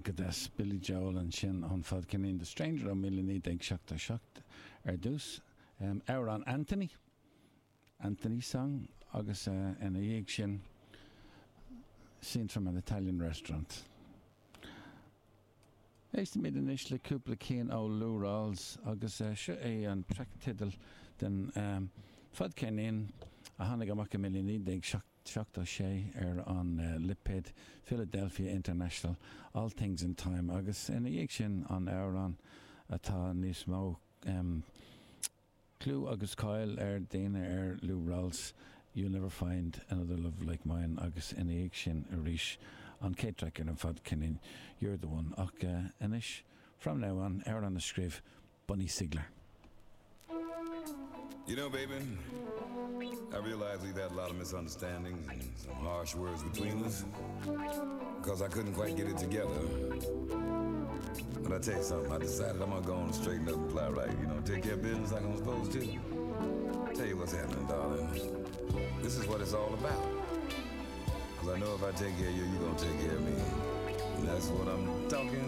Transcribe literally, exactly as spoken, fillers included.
Go deas Billy Joel ansin an fadcheirnín The Stranger ó míle naoi déag seachtó seacht ar dtús. Um, amhrán Anthony Anthony song agus uh, ina dhiaidh sin Scene from an Italian Restaurant. Éistimid anois le cúpla ceann ó Lou Rawls agus uh, seo é an traic teideal den um, fadcheirnín a tháinig amach i míle naoi déag seachtó sé ar an uh, lipéad Philadelphia International All Things in Time agus ina dhiaidh sin an amhrán atá níos mó um, clú agus cáil ar daoine ar Lou Rawls You'll Never Find Another Love Like Mine agus ina dhiaidh sin arís an chéad traic ar an fadcheirnín You're the One ach uh, anois From Now On ar an a scríobh Bunny Sigler. You know, baby, I realize we've had a lot of misunderstandings and some harsh words between us because I couldn't quite get it together. But I tell you something, I decided I'm gonna go on and straighten up and play right. You know, take care of business like I'm supposed to. Tell you what's happening, darling. This is what it's all about. Cause I know if I take care of you, you're gonna take care of me. And that's what I'm talking